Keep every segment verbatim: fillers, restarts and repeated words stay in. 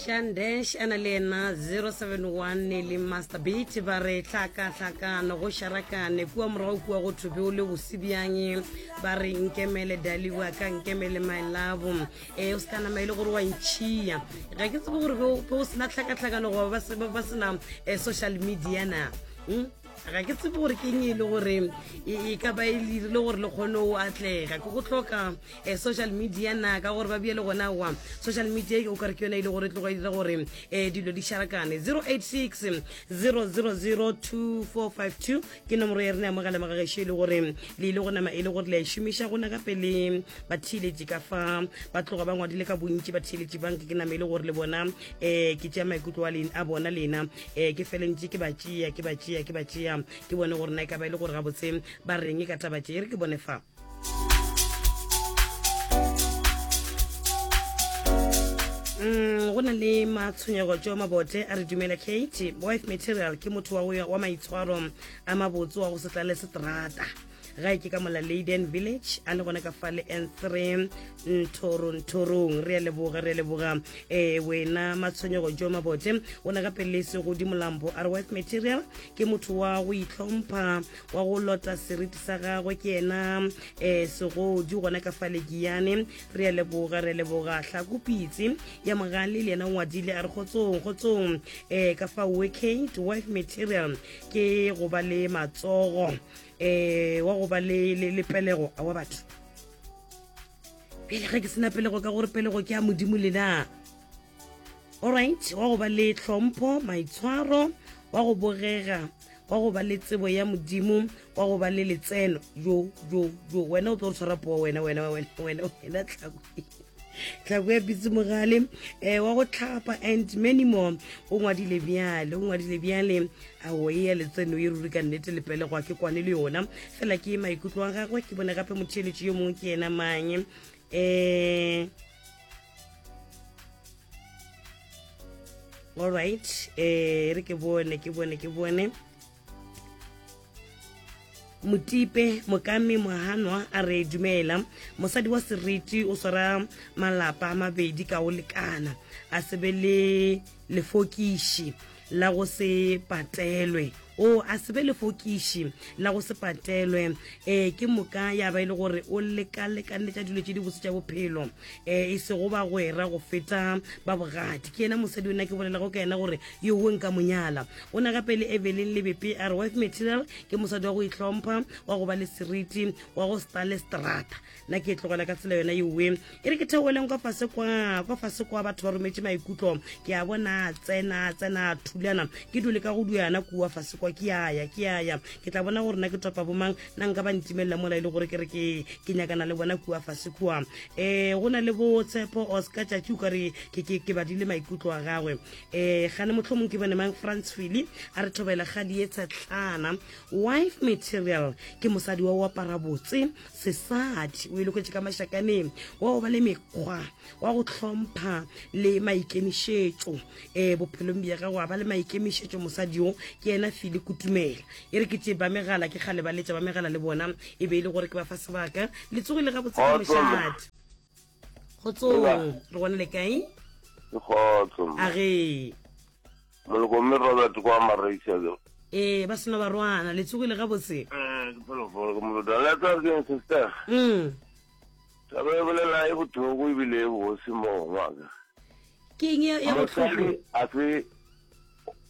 Shandesh a na le yena zero seven one le Master Beat ba re hlakahlakano go šarakane kua morago kua go thwe be o le bose bjang ba re nkemele dali wa ka nkemele my love e o se ka nama e le gore wa ntšhia ga ke tsebe gore be o sena hlakahlakano goba ba sena eh, social media na hmm? Ga ke tsebe gore ke eng e le gore e ka ba e dirile gore le kgone o atlega ke go hloka um social media na ka gore ba bie le gona wa social media o kare ke yone e le gore e tloga e dira gore um dilo di šarakane. Zero eight six zero zero zero two four five two ke nomoro ya rena ya mogala magagešo e le gore le ile go nama e le gore le a e šomiša gona gape le batheeletši ka fa ba tloga ba ngwadile ka bontši batheeletši banke ke nama e le gore le bona um ke tšea maikutlo a bona lena um ke felentše ke ba tšea ke ba tšea ke ba tšea ke bone gore na e ka ba e le gore gabotse ba reng ka taba tše e re ke bone fa. Mm, go na le matshwenyego tšo mabote a re dumela Kate wife material ke motho wa, wa maitshwaro a mabotse wa go se tlale seterata gae ke ka mola Leyden Village a le gona ka fa le N three nthorong re a leboga re a leboga eh wena matshwenyego jo mabote o na gape le segodi molambo a re wife material ke motho wa go itlhompha wa go lota seriti sa gagwe ke yena eh segodi gona ka fa le Giyane re a leboga re a leboga hlakopitse ya mogale le yena o ngwadile a re kgotsong kgotsong eh ka fa Kate wife material ke go ba le matsogo eh wa go ba le le pelego a wa batho pele ge ke sena pelego ka gore pelego ke ya modimo lena. Alright, wa go ba le tlhompho maitshwaro wa go bogega wa go ba le tsebo ya modimo wa go ba le letseno jo jo jo wena o tlo re tshwara poo wena wena wena wena wena tlhako tlhako ya pitse mogale eh wa go tlhapa and many more o ngwadile bjale o ngwadile bjale ao e ya letseno e ruri ka nnete le pelegwa ke kwane le yona fela ke maikutlo a gagwe ke bone gape motheeletši yo mongwe ke yena mang eh all right eh re ke bone ke bone ke bone Motipe Mokami Mohanwa a re dumela mosadi wa seriti o swara malapa a mabedi ka o lekana a sebe le lefokiši la go se patelwe o a sebe lefokiši la go se patelwe um ke moka ya ba e le gore o lekalekanetša dilo tše di botse tša bophelo um e sego bagwera go feta ba bogadi ke yena mosadi ona ke bolelago ka yena gore yowe nka monyala o na gape le Evelyn Lebepe a re wife material ke mosadi wa go itlhompha wa go ba le seriti wa go stale strata nna ke e tlogela ka tsela yona yowe e re ke theoeleng kwa fase kwa kwa fase kwa batho ba rometše maikutlo ke a bona tsena tsena thulana ke dule ka go duyana kua fase kwa ke aya ke aya ke tla bona gore na ke topa bomang na nka ba ntimelela mola e le gore ke re ke ke nyakana le bona kua fase kua um go na le bo Tshepo Oscar tšatši o ka re ke ke ke badile maikutlo a gagwe um gane mohlomong ke bone mang France Philly a re thobela kgadi ye tshetlana wife material ke mosadi wa o apara botse sesadi o e loketše ka mašakaneng wa go ba le mekgwa wa go hlompha le maikemišetšo um bophelong bja gago a ba le maikemišetšo mosadi yo ke yena Philly Kutumela e re ke tše ba megala ke kgale ba letša ba megala le bona e be e le gore ke ba fa sebaka le tsogile gabotse ka mošate kgotsong re gona le kae kgotso a ge moloko mme Robert kwa Mareisa ee ba sena barwana le tsogile gabotse eh ke phelofolo ke molota le tsa ke sister mm taba e bolela e bothoko ebile e bose mo ngwaka ke eng ya botlhoko a se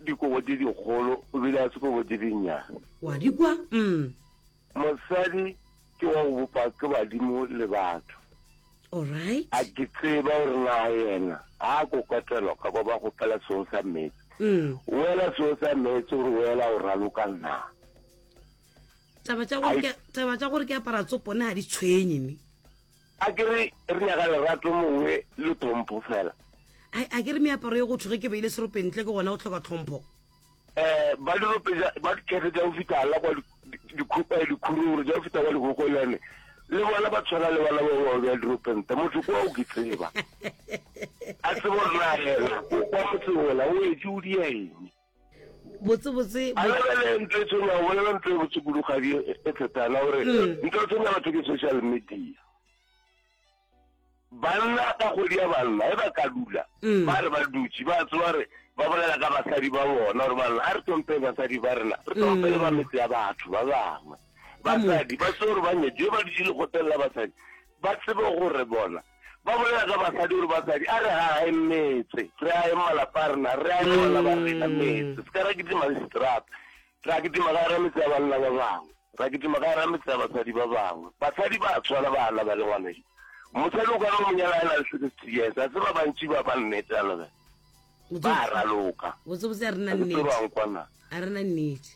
dikobo tse dikgolo ebile a se kobo tse dinnyane wa di kwa mm mosadi ke wa go bopa ke badimo le batho alright a ke tseba gore na yena a kokotelwa ka kwa ba gopela seo sa meetse mm wela seo sa meetse gore wela o raloka nna taba tša gore ke taba tša gore ke apara tsopone ga di tshwenye ne a ke re re nyaka lerato mongwe le tlhompho fela a ke re meaparo ye go thwe ge ke beile serope ntle ke gona go tlhoka tlhompho eh ba dirope ba dikefe tša go fihla la kwa dikhururu tša go fihla kwa dikgokolane le bona ba tshwana le bana ba ba bja diropente motho kwa o ke tseba a tsebo gore na yena o kwa motseng ola o etse o dia eng botse botse a lebele ntho e tshwenya o bolela ntho e botse kudugadi e thetana gore ntho e tshwenya batho ke social media banna ka kgwedi ya banna e ba ka dula Mm. Ba re ba dutše ba tseba re ba bolela ka basadi ba bona gore banna a re tlhomphe basadi ba rena, re tlhomphe le ba Mm. metse ya batho ba bangwe. Ka moka. Basadi ba tsebe gore ba nyetšwe, ba dutše lekgotleng la basadi, ba tsebe gore bona ba bolela ka basadi gore basadi a re ageng metse, re ageng malapa a rena, re ageng bana ba rena Mm. metse. Se ka ra kitima le seterata, ra kitima ka gara metse ya banna ba bangwe, ra kitima ka gara metse ya basadi ba bangwe. Basadi ba tshwana bana ba le ngwanešu. Mosadi o ka no mo nyala a na le sixty years, a se ba bantši ba ba nnete a lebe. Ba raloka. Botsebotse a re na Ga ke tsebe nnete. ba nkwana. A re na nnete.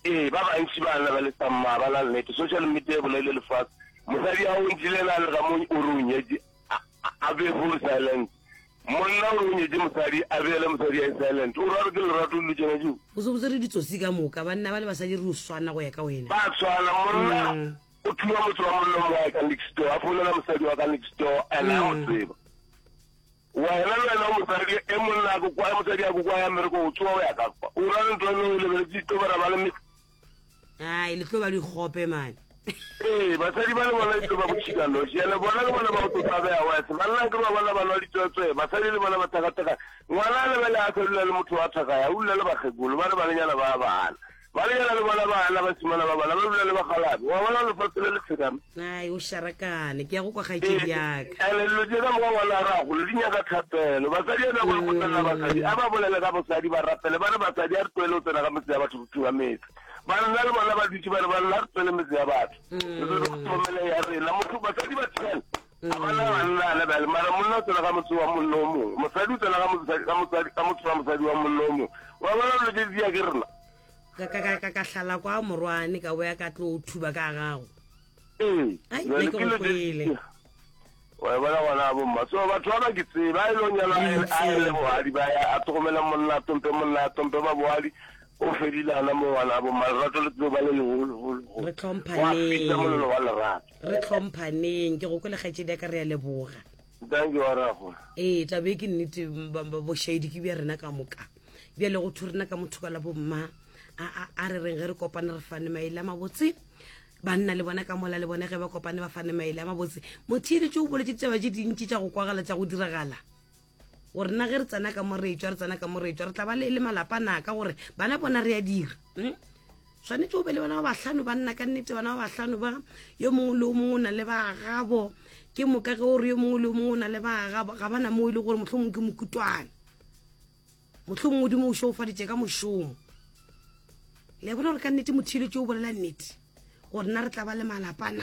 Ee, ba bantši ba na ba le samma, ba na nnete. Social media e bolaile lefase. Mosadi a o ntšhile na le ga mo o re o nyetše, a, a, a be full silent. Monna o re o nyetše mosadi, a beele mosadi a silent. O ra re ke lerato le tšena tšeo. Botsebotse re ditsotsi ka moka, banna ba le basadi re o swana go ya ka wena. Ba tshwana, monna Mm. o thuba motho wa monna mongwe wa ka next door, a founela mosadi wa ka next door, and a mo Mm. tseba. Wena le wena o mosadi, e monna a ko kwa, e mosadi a ko kwa ya mmereko, o tsoga o ya ka kwa. O ra re ntho e nngwe o lebeletse ditobera ba le me- Ai, le tlo ba dikgope mane. Ee, basadi ba le bona e tlo ba botšhika noši. Ene bona le bona ba go tlo tlabeha wese. Banna ke ba bona ba nwa ditswetswe, basadi le bona ba thakathaka. Ngwana a lebele a sa dula le motho wa thaka ya, o dula le bakgekolo, ba re banenyana ba bana. Banenyana le bona bana, basimana ba bana, ba dula le bakgalabe. Wa bona lefatshe le le tshekame. Ai, o šarakane, ke ya go kwa kgaetšedi ya ka. Ene dilo tše ka moka ngwana a re a golo, di nyaka thapelo. Basadi a nyaka go tsena basadi, a ba bolele ka bosadi, ba rapele, ba re basadi a re tlohele go tsena ka metse ya batho, go thuba metse. Banna le bona ba dutše ba re banna re tswele metse ya batho. Re tlo tlhokomele ya rena. Motho basadi ba ten. A bana banna le bale, mara monna o tsena ka motse wa monna o mongwe. Mosadi o tsena ka motse ka mosadi ka motse wa mosadi wa monna o mongwe. Wa bona dilo tše di ya ke rena. Ka ka ka ka ka hlala kwa morwane ka boya ka tlo thuba ka gago. Ee. Ai, Jwale nna ke ke dilo go tše kwele. di- Wa bona ngwana bo mma. So batho ba ba ke tseba, a e le o nyalwa, a e- a e le bohadi, ba ya, a tlhokomela monna, a tlhomphe monna, a tlhomphe ba bohadi. O fedile hana mo ngwana bo mma, lerato le tlo ba le leholo, holo, holo. Re tlhomphaneng. Wa fisa molelo wa lerato. Re tlhomphaneng, ke go kwele kgaetšedi ya ka, re a leboga. Thank you, wa rago. Ee, taba e ke nnete, ba- ba- bošaedi ke bja rena ka moka. Bjale go thwe rena ka motho ka la bomma, a, a, a re reng ge re kopane re fane maele a mabotse. Banna le bona ka mola le bona ge ba kopane ba fane maele a mabotse. Motheeletši o boletše ditaba tše dintši tša go kwagala tša go diragala. Gore nna ge re tsena ka mo re etšwa, re tsena ka mo re etšwa, re tla ba le, le malapa na, ka gore bana bona re a dira. Mm? Swanetše o be le bana ba bahlano, banna ka nnete, bana ba bahlano ba, yo mongwe le yo mongwe o na le ba gabo. Ke moka ge o re yo mongwe le yo mongwe o na le ba gabo, ga bana mo e le gore mohlomongwe ke mokutwana. Mohlomongwe Modimo o šeofaditše ka mošomo. Le a bona gore ka nnete motheeletši o bolela nnete, gore nna re tla ba le malapa na.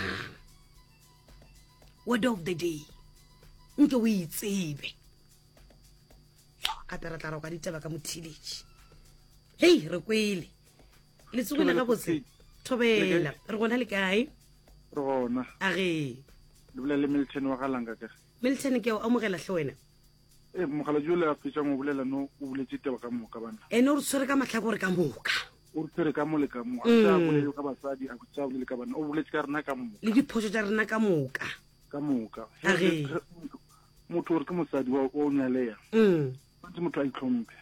Word of the day, nke o e tsebe. Gape re tla roka ditaba ka motheeletši. Hei, re kwele. Le tsogile gabotse? Thobela. Re gona le kae? Re gona. A ge. Le bolela le Milton wa Galanga ke. Milton, ke a o amogela hle wena. Eh, mogala jo le a fetšang o bolela no, o boletse taba ka moka bana. Ene o re tshwere ka mahlakore ka moka. O re tshwere ka mo le ka mo. A sa bolele ka basadi, a sa bolele ka banna. O boletse ka rena ka moka. Le diphošo tša rena ka moka. Ka moka. A ge. Motho o re ke mosadi wa, wa o nyaleya. Mm. Tshwanetse motho a itlhomphe.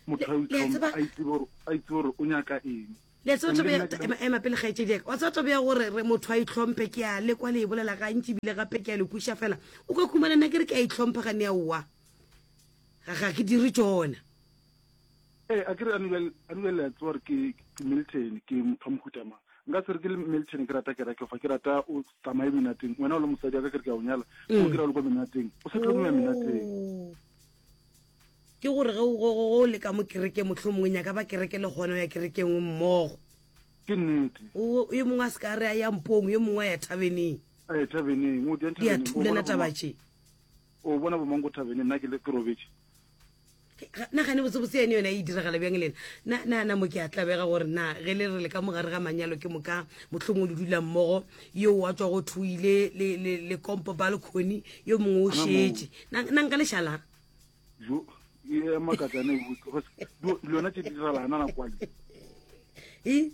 Motho a Le- le a itlhomphe, tseba- a itse gore, a itse gore o nyaka eng. Le a tseba Gomme taba ya- nna ke ema, ema pele kgaetšedi ya ka. Wa tseba taba ya gore re motho a itlhomphe, ke a lekwa le e bolela gantši ebile gape ke a le kweša fela. O ka khumana nna ke re ke a itlhompha gane aowa. Ga, ga ke dire tšona. Ee, a ke re Anuel, Anuel le a tseba gore ke, ke Milton, ke motho wa mohuta mang. Nka se re ke le Milton ke rata kereke fa, ke rata o tsamaye menateng. Wena o le mosadi wa ka ke re ke a o nyala, o kry-a o le kwa menateng. O sa tlo ya menateng. Oh. Ke gore ge o, go, go, go le ka mo kerekeng, mohlomongwe nyaka ba kereke le gona o ya kerekeng mmogo. Ke nnete. O, yo mongwe a se ka re a ya mpong, yo mongwe a ya thabeneng. A ya thabeneng, o di ya Di a thabeneng. O thulana bona taba bo tše. O bona bo mang ko thabeneng, nna ke le ke robetše. Nna gane botsebotse yane yona e diragala bjang le nna? Na, na, na mo ke a tlabega gore na ge le re le ka mogare ga manyalo ke moka mohlomongwe le dula mmogo, yo a tswa go thuile le, le, le kompo balcony, yo mongwe o Ana moo. šetše. Na, na nka lešala? Jo, e a makatsa ne botse, go se, do, le yona tše di diragala hana nako ale. E?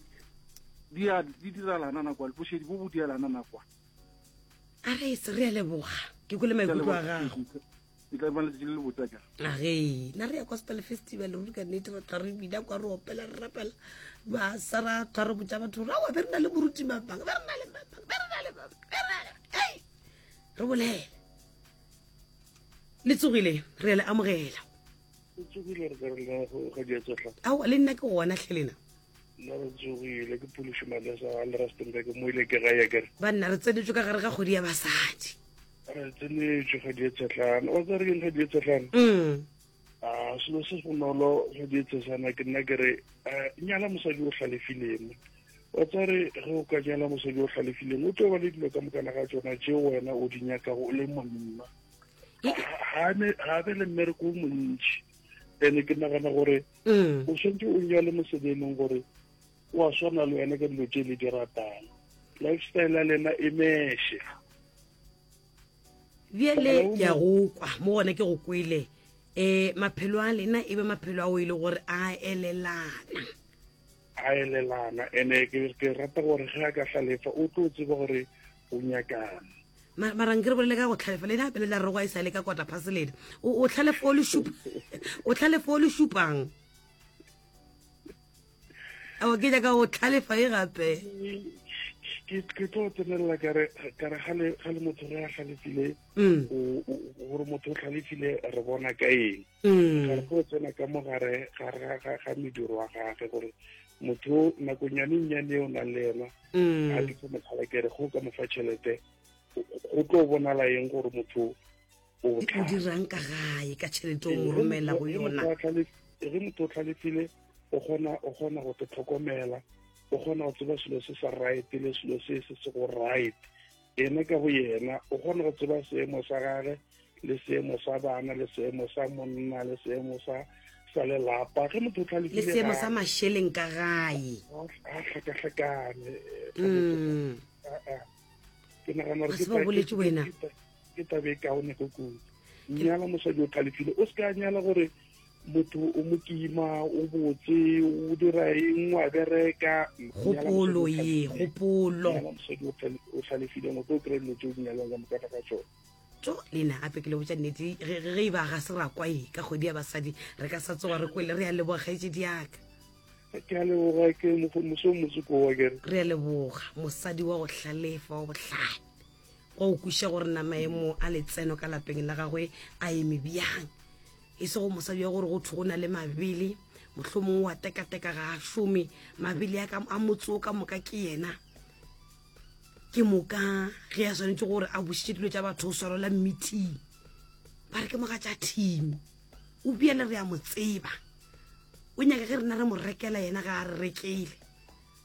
Di a, di diragala hana nako ale, bošedi bo bo diela hana nako ale. A re se re a leboga. Ke kwele maikutlo a gago. E tla ba letšatši le le botse akere. A ge, na re ya gospel festival ruri ka nnete, re tla re bina kwa, re opela, re rapela. Ba sa ra tla re botša batho gore, aowa, be re na le moruti mabang, be re na le mabang, be re na le mabang, be re na le, hei, re bolele. Le tsogile, re a le amogela. Le tsogile re ka re lena go ga di tsohla. Ao le nna ke gona hle lena. Nna re tsogile ke Phološi Malesa ga le Rustenburg mo ile ke gae kere. Banna re tsenetšwe ka gare ga kgwedi ya basadi. Re tsenetšwe ga di tsohlana. Wa tsare ke ga di tsohlana. Mm. A selo se bonolo ga di tsohlana ke nna ke re nyala mosadi o hlalefileng. Wa tsare ge o ka nyala mosadi o hlalefileng o tlo ba le dilo ka mokana ga tsona tše wena o di nyakago o le monna. Ga be le mmereko o montši. Ene ke nagana gore o tshwanetse o nyale mosadi e leng gore o a swana le wena ka dilo tše le di ratang. Lifestyle ya lena e meshe. Bjale ke a go kwa mo gona ke go kwele. Um maphelo a lena e be maphelo ao e le gore a elelana. A elelana ene ke ke rata gore ge a ka hlalefa o tlo tseba gore o nyakang. Mara nke re bolele ka go tlhalefa le gape le la rego a e sa le ka kota phase lena. O tlhalefa o le šupa o tlhalefa o le šupang. Ao ke nyaka go tlhalefa e gape. Ke ke tlo tsenelela ka re ka re ga le motho re a hlalefile gore motho o hlalefile re bona ka eng. Ga re go tsena ka mo gare ga ga ga mediro wa gagwe gore motho nakonyane nnyane o nang le yena a ke fo motlhala ke re go ka mo fa tšhelete go tlo bonala eng gore motho o o dirang ka gae ka tšhelete o mo romela go yona. Ge motho o tlhalefile o kgona o kgona go te tlhokomela, o kgona go tseba selo se sa right le selo se se se go right. Ena ka bo yena o kgona go tseba seemo sa gagwe le seemo sa bana le seemo sa monna le seemo sa sa lelapa. Ge motho o tlhalefile le seemo sa mašeleng ka gae a hlakahlakane. Ke nagana gore ke boletse wena ke tabe e kaone go kudu. Nyala mosadi o tlhalefile, o se ka nyala gore motho o mokima o botse o dira eng wa bereka. Kgopolo ye kgopolo mosadi o hlalefileng o tlo kry-a dilo tse o di nyalang ka moka ga tsona. Tso lena gape ke le botša nnete ge e ba ga se ra kwa e ka kgwedi ya basadi re ka sa tsoga re kwele. Re a leboga kgaetšedi yaka. Ke a leboga ke moso motsoko wa kere. Re a leboga mosadi wa go hlalefa wa bohlale wa go kweša gore na maemo a letseno ka lapeng la gagwe a eme bjang. E se go mosadi wa gore go thwe go na le mabele mohlomongwe wa tekateka ga a šome mabele a a motse o ka moka ke yena. Ke moka ge a swanetše gore a bušitše dilo tša batho o swarela meeting ba re ke mogatša team o bjale re a mo tseba o nyaka ge rena re mo rekela yena ga a re rekele.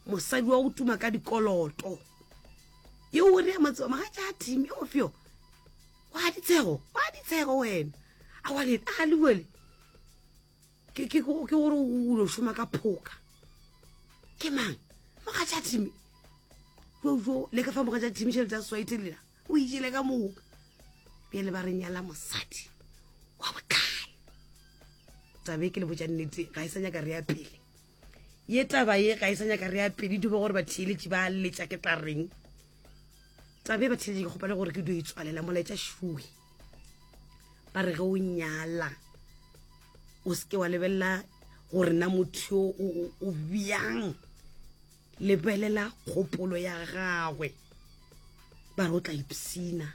Mosadi wa go tuma ka dikoloto yeo re a mo tseba mogatša team yo feo wa ditshego wa ditshego wena a wa le a le wele ke ke ke gore o lo šoma ka phoka ke mang mogatša team jo jo le ka fa mogatša team tšhelete ya swaite lela o itšele ka moka. Bjale ba re nyala mosadi wa botlhale. Tabe ke le botša nnete ga e sa nyaka re ya pele ye taba ye ga e sa nyaka re ya pele di bo gore batheeletši ba letša ke tla reng. Tabe batheeletši ke kgopela gore ke dio itswalela molaetša šuwe. Ba re ge o nyala o seke wa lebelela gore na motho o o bjang, lebelela kgopolo ya gagwe. Ba re o tla ipsina.